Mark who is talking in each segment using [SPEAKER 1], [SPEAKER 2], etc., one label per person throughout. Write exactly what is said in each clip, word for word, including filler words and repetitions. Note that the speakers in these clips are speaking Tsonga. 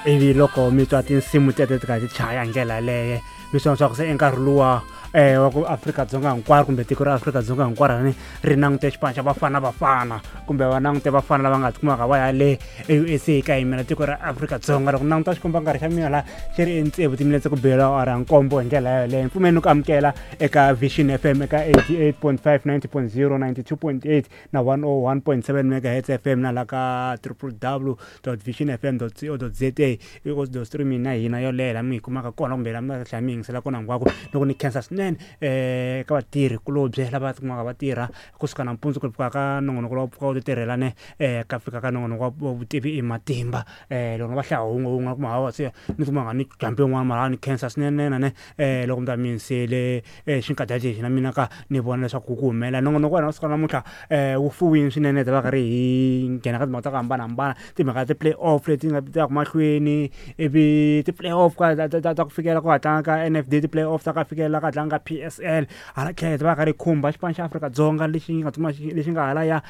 [SPEAKER 1] Ivi loko mi twa tinsimu teto ti karhi ti chaya hi ndlela yaleyo mi swi vona swa ku se i nkarhi luwa um wa ku Afrika-Dzonga hinkwaro kumbe tiko ra Afrika-Dzonga hinkwaro ni ri langute xipano xa Bafana Bafana kumbe va langute vafana lava nga tikumaka va ya le e U S A ka yimela tiko ra Afrika-Dzonga. Loko languta xikomba nkarhi xa mina laha xi ri entsevu timinetse ku bela awara ya nkombo hi ndlela yaleyo. Mpfumeni ku amukela eka Vision F M eka eighty-eight point five, ninety point zero, ninety-two point eight na one oh one point seven megahertz F M na la ka triple w dot vision f m dot co dot z a. I audio streaming na hina yoleyo laha mi yi kumaka kona kumbe laha mi nga tlhela mi yingisela kona hinkwako. Loko ni khensa swinene um ka vatirhi kulobye lava tikumaka va tirha kusuka nampundzu ku fika ka nongonoko lowu pfuka wu ti tirhela ne um ka fika ka nongonoko wa vutivi i matimba. um Loko va hlaya wun'we wun'we kuma hawa se ni kuma nga ni jambi yin'wana mara ni khensa swinene na ne um loko mi ta mi yingisele xinkadyana lexi na mina ka ni vona leswaku ku humelela nongonoko wa hina wa siku ra namuntlha um wu fuwile swinene hi ta va karhi hi nghena ka timhaka ta ku hambanahambana, timhaka ta ti-play off leti nga ti yaka mahlweni, ivi ti-play off ka ta ta ta ku fikela ku ha tlanga ka N F D, ti-play off ta ka fikela ka tlanga ka P S L. Hala tlhelo hi ta va karhi hi khumba xipano xa Afrika-Dzonga lexi nga tsutsuma lexi nga hala ya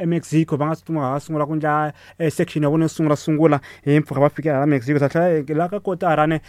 [SPEAKER 1] eMexico, va nga tsutsuma va sungula ku endla section ya vona yo sungula sungula hi mpfhuka va fikela hala Mexico. Ta tlhela la ka kotara ne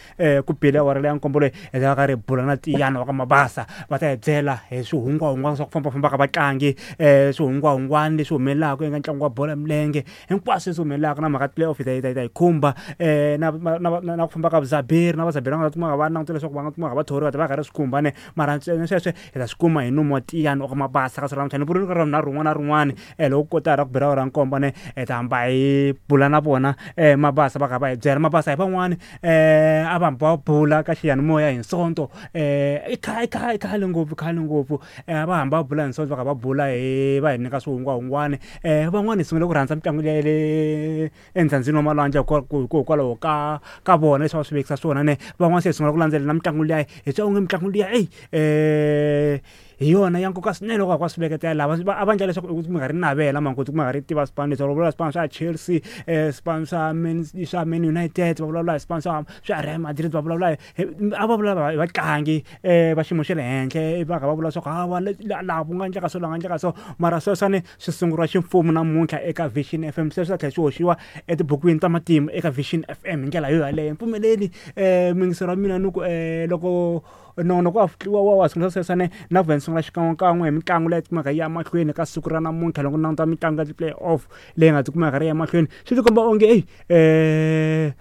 [SPEAKER 1] ku bile awara leya nkombo leyi hi ta va karhi hi bula na Tiyani wa ka Mabasa, va ta hi byela hi swihungwahungwana swa ku fambafamba ka vatlangi, um swihungwahungwana leswi humelelaka eka ntlangu wa bolo ya milenge, hinkwaswo leswi humelelaka na mhaka play off hi ta hi ta hi khumba um na na na ku famba ka vuzaberi na vazaberi va nga kumaka va langutela leswaku va nga kumaka va thoriwa ta va karhi swi khumba ne mara ntsena sweswo hi ta swi kuma hi nomu wa Tiyani wa ka Mabasa ka siku ra namuntlha. Ni vula ka ra rin'wana na rin'wana um loko kotara ku bela awara ya nkombo ne hi ta hamba hi bula na vona um Mabasa va kha va hi byela. Mabasa hi van'wani um a va hamba va bula ka xiyanimoya hi Sonto um i khale i khale ngopfu khale ngopfu um va hamba va bula hi Sonto va kha va bula hi va hi nyika swihungwahungwani. um Van'wani hi sungule ku rhandza mitlangu leyi le endzhandzini wa malwandle hikokwalaho ka ka vona leswi va swi vekisa swona ne van'wana se hi sungula ku landzelela mitlangu liya hi twa onge mitlangu liya eyi um hi yona ya nkoka swinene loko va swi veketela lava a va endla leswaku mi nga ri navela mangoti ku nga ri tiva swipano leswi va vulavula swipano swa Chelsea, um swipano swa Man swa Man United, va vulavula hi swipano swa swa Real Madrid, va vulavula hi a va vulavula hi vatlangi um va xiyimo xa le henhla va kha va vula leswaku hawa laha ku nga endleka so laha nga endleka so mara sweswiwani swi sunguriwa ximfumo namuntlha eka Vision F M, sweswi swi ta tlhela swi hoxiwa etibukwini ta matimu eka Vision F M hi ndlela yo yaleyo. Mpfumeleli um muyingiseri wa mina ni ku um loko nongonoko wa wa wa sungula sweswiwani na ku sungula xikan'wekan'we hi mitlangu leyi tikumaka yi ya mahlweni ka siku ra namuntlha. Loko languta mitlangu ya ti-play off leyi nga tikumaka ri ya mahlweni swi tikomba onge eyi um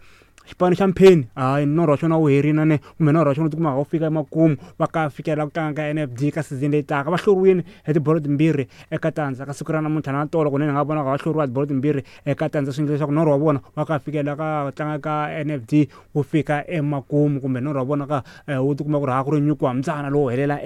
[SPEAKER 1] xipano xa Mpheni hayi norho wa xona wu herile ne kumbe norho wa xona wu tikumaka wu fika emakumu va ka fikela ku tlanga ka N F D ka season leyi taka. Va hluriwile hi tibolo timbirhi eka tandza ka siku ra namuntlha na tolo kunene nga vona va hluriwa tibolo timbirhi eka tandza, swi endla leswaku norho wa vona wa ka fikela ka tlanga ka N F D wu fika emakumu kumbe norho wa vona ka wu tikuma ku ri ha ku ri nyuku wa mbyana lowu helela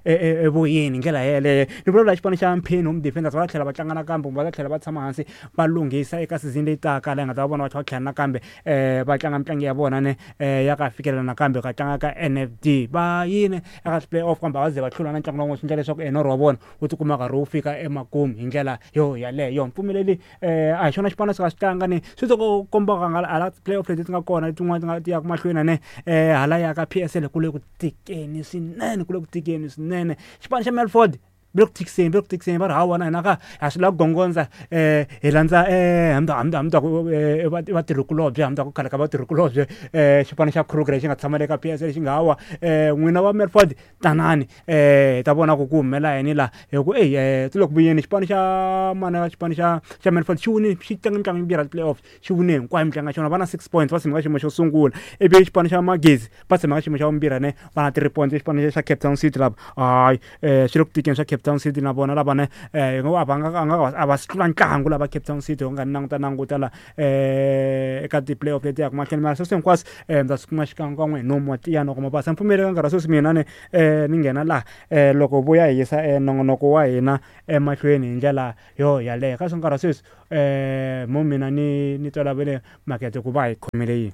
[SPEAKER 1] evoyeni hi ndlela yeleyo. Ni vulavula xipano xa Mpheni Home Defenders va ta tlhela va tlanga nakambe kumbe va ta tlhela va tshama hansi va lunghisa eka season leyi taka laha hi nga ta va vona va tlhela va tlhela nakambe um va tlanga mitlangu ya vona ne ya ka fikelela nakambe ka tlanga ka N F D. Va yini eka play off kambe a va ze va hlula na ntlangu lowun'we, swi endla leswaku norho wa vona wu tikuma karhi wu fika emakumu hi ndlela yo yaleyo. Mpfumeleli um a hi xona xipano swi nga swi tlanga ni swi ti komba nga hala play off leti ti nga kona letin'wana ti nga ti yaka mahlweni ne um hala ya ka P S L ku le ku tikeni swinene, ku le ku tikeni swinene. Xipano xa Melford va le ku tikiseni va le ku tikiseni va ri hawa na hina ka ha swi lava ku gongondza um hi landza um hambi hambi hambi ku i vatirhikulobye hambi ku khale ka vatirhikulobye um xipano xa Kruger lexi nga tshama le ka P S L lexi nga hawa um n'wina va Melford tanani um hi ta vona ku ku humelela yini laha hi ku eyi ti le ku vuyeni. Xipano xa mana xipano xa xa Melford xi wine xi tlanga mitlangu yimbirhi ya ti-play off xi wine hinkwayo mitlangu ya xona, va na six points va tshama ka xiyimo xo sungula, ivi xipano xa Magezi va tshama ka xiyimo xa vumbirhi ne va na three points. Xipano xa Cape Town City lava hayi um swi le ku tikeni swa Cape Town City na vona lava ne um a va nga a nga a va si tlula ntlangu lava Cape Town City u nga languta languta la um eka ti-play off leti yaka mahlweni mara sweswi hinkwaswo um mi ta swi kuma xikan'wekan'we hi nomu wa Tiyani wa ka Mabasa. Mpfumeli ka nkarhi wa sweswi mina ni um ni nghena laha um loko vuya hi yisa nongonoko wa hina emahlweni hi ndlela yo yaleyo. Ka swi nkarhi wa sweswi um mo mina ni ni tolovele makete ku va hi khomele yini.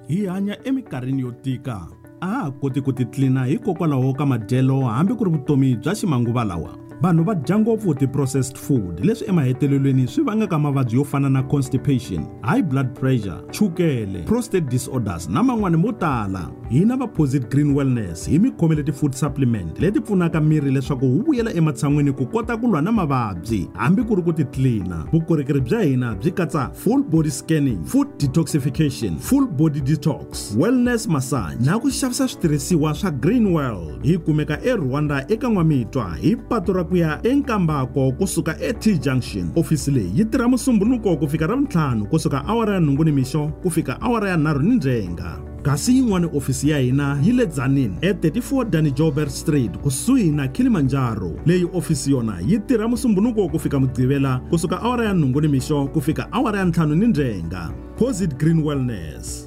[SPEAKER 2] Hi hanya eminkarhini yo tika, a ha koti ku titlina hikokwalaho ka madyelo hambi ku ri vutomi bya ximanguva lawa. Vanhu va dya ngopfu ti-processed food leswi emahetelelweni swi vangaka mavabyi yo fana na constipation, high blood pressure, chukele, prostate disorders na man'wani mo tala. Hina va Posit Green Wellness hi mi khomele ti-food supplement leti pfunaka miri leswaku wu vuyela ematshan'wini ku kota ku lwa na mavabyi hambi ku ri ku titlina. Vukorhokeri bya hina byi katsa full body scanning, food detoxification, full body detox, wellness massage na ku xavisa switirhisiwa swa Green World. Hi kumeka eRwanda eka N'wamitwa hi patu ra ku ya eNkambako kusuka e-T Junction. Ofisi leyi yi tirha Musumbunuko ku fika Ravuntlhanu kusuka awara ya nhungu nimixo ku fika awara ya nharhu nindzhenga. Kasi yin'wana ofisi ya hina yi le Tzaneen e thirty-four Danny Joubert Street kusuhi na Kilimanjaro. Leyi ofisi yona yi tirha Musumbunuko ku fika Mugqivela kusuka awara ya nhungu nimixo ku fika awara ya ntlhanu nindzhenga. Posit Green Wellness.